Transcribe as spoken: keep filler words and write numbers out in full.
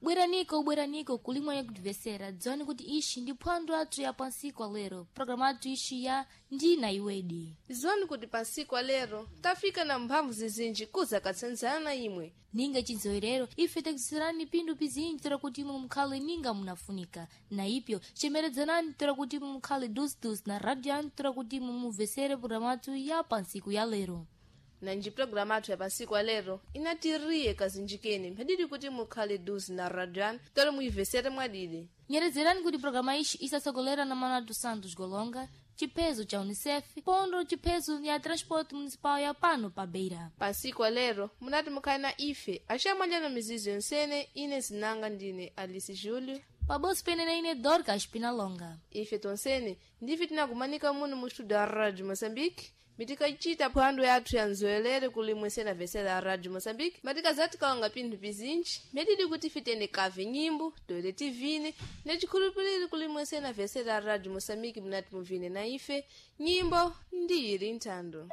Bweraniko, bweraniko kulimwa yakutivesera, dziwani kuti ishi ndi phwando athu ya pansiku lero, programu athu ishi ya Ndina Iwedi. Ziwani kuti pansiku alero tafika na mphamvu zizinji kuzakatsanzana imwe. Ninga chinzowerero ife takuziserani phindu pizinji toera kuti imwe mukhale ninga munafunika, na ipyo chemeredzanani toera kuti imwe mukhale dusudusu na radio yanu toera kuti imwe mumvesere programu athu ya pansiku ya lero. Nanji programu athu ya pansiku alero inatiriye kazinjikeni mphadidi kuti mukhale duzi na radio yanu tole muyivesere mwadidi. Nyerezerani kuti programa ishi isasogolera na Manuel dos Santos Golonga, chiphezo cha UNICEF, pondo chiphezo ya transporte municipal ya pano pa Beira. Pansiku alero munati mukhale na ife axamalya mizizo yonsene. Ine zinanga ndine Alice Júlio. Paboso pene na ine Dorcas Pinalonga. Ife tonsene ndife tinakumanika muno mu studio ya Radio Moçambique, mitikacita phwando yathu ya nzoelere kulimwe sena vesera ya Radio Moçambique, matikazati kalonga pinthu pizinji medidi kuti ife tiyende kave nyimbo toete tivine necikhulupiriro kulimwe sena vesera ya Radio Moçambique munati muvine na ife nyimbo ndi ili nthando.